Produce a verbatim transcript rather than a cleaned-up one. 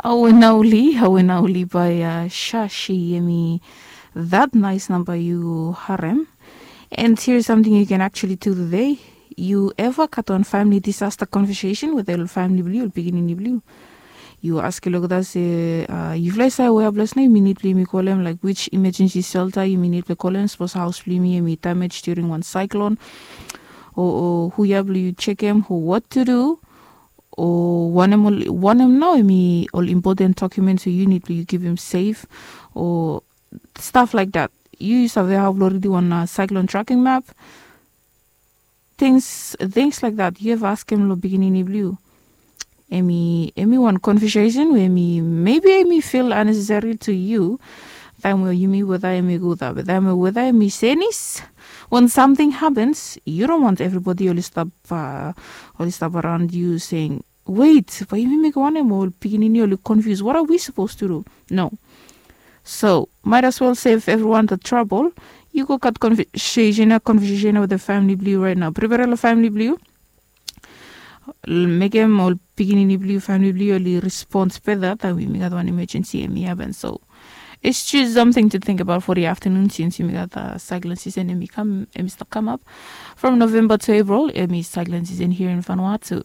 Awe nauli awe nauli bai shashi emi that nice namba yu harem. And here is something you can actually do today. You ever kat wan family disaster conversation with ol family blue ol pikinini blue? Yu aski lokta se yufala i save wea ples na yumi nid blue yumi kolem like which emergency shelter yumi nid blue kolem sapos haus blue yumi emi damage during wan cyclone, o hu ya blue yu chekem o what to do, o wanem nao emi ol important documents we yu nid blue yu givim safe, o stuff like that. Yu save hau blue ridi wan cyclone tracking map. Things things like that yu eva askem long pikinini blue. Emi emi wan conversation we emi maybe emi feel unnecessary to yu. Taim we yumi weda emi guda be taim we weda emi senis, wan samting hapens yu don want evribodi oli stap oli stap araun yu seing, wait, bai yumi mekim wanem ol pikinini oli confuse what are we supposed to do? No. So might as well save everyone the trouble. Yu go kat conversation conversation with the family blue right now prepare lo family blue. Mekem ol pikinini blue family blue oli respond better taim yumi gat wan emergency emi happen. So it's just something to think about for the afternoon since yumi gat cyclone season emi kam emi start come up from November to April emi cyclone season here in Vanuatu.